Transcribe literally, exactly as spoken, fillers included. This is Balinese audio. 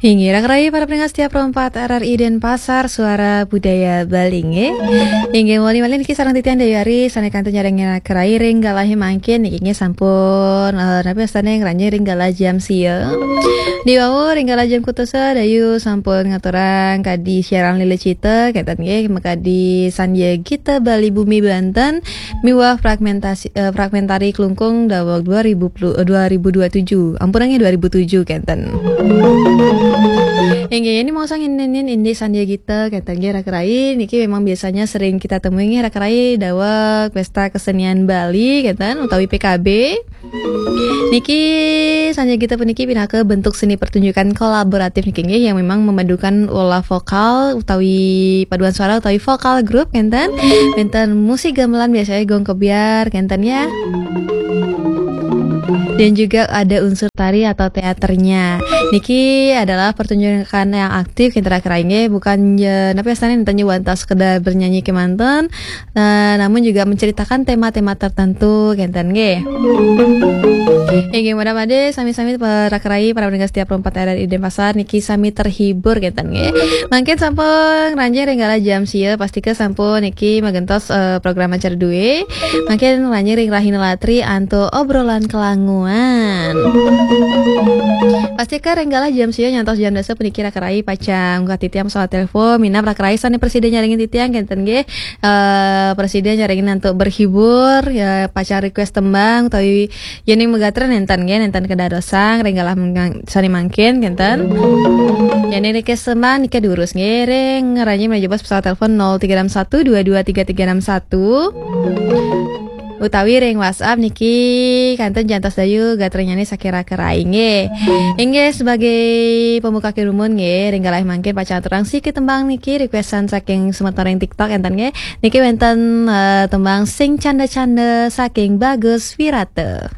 Inggih, raka rai para pendengar setia Pro empat R R I Denpasar, Suara Budaya Bali nggih. Inggih, malih-malih niki sareng titiang Dewi Ari, sané kantun nyarengin raka rai ring galahe mangkin niki nggih sampun, eh, napi astane ngranjing ring galah jam sia. Diwawu ring galah jam kutusa Dayu sampun ngaturang kadi siaran Lila Cita, kenten nggih, makadi Sandya Gita Bali Bumi Banten, miwah fragmentasi, eh, fragmentari Klungkung daweg dua ribu puluh, eh, dua ribu dua tujuh. Ampun nggih, dua ribu tujuh kenten. Inggih, ini mau sang inin indik Sandya Gita kenten nggih raka rai. Niki memang biasanya sering kita temui nggih raka rai daweg Pesta Kesenian Bali kenten utawi P K B. Niki Sandya Gita puniki pinaka bentuk seni pertunjukan kolaboratif niki nggih yang memang memadukan olah vokal utawi paduan suara utawi vokal grup kenten. Wenten musik gamelan biasanya gong kebyar kenten ya. Dan juga ada unsur tari atau teaternya. Niki adalah pertunjukan yang aktif kenten raka rai nggih, bukan ya napi astane enten wantah sekedar bernyanyi kemanten, nah, namun juga menceritakan tema-tema tertentu kenten nggih. Inggih, mudah-mudahan sami-sami para raka rai, para pendengar setia Pro empat R R I Denpasar niki sami terhibur kenten nggih. Mangkin sampun ngranjing ring galah jam sia, pastika sampun niki magentos, eh, program acara duwe. Mangkin ngranjing ring Rahina Latri antuk obrolan kelanguan. Pastika ring galah jam sia nyantos jam dasa puniki raka rai pacang ngungkah titiang pesawat telepon, minab raka rai sane prasida nyarengin titiang kenten nggih. Eh, prasida nyarengin antuk berhibur, ya pacang request tembang utawi yening magatra nenten nggih, nenten kadadosang ring galah mengkang-, sane mangkin kenten. Yening request tembang nika durus nggih ring ngranjing menuju bos pesawat telepon nol tiga enam satu dua dua tiga tiga enam satu. Utawi ring WhatsApp niki kantun jantos Dayu gatranyane saking raka rai nggih. Inggih, sebagai pembuka kerumun nggih, ring galah mangkin pacang aturang siki tembang niki requestan saking semeton ring TikTok enten nggih. Niki wenten, eh, tembang Sing Canda-Canda saking Bagus Wirata.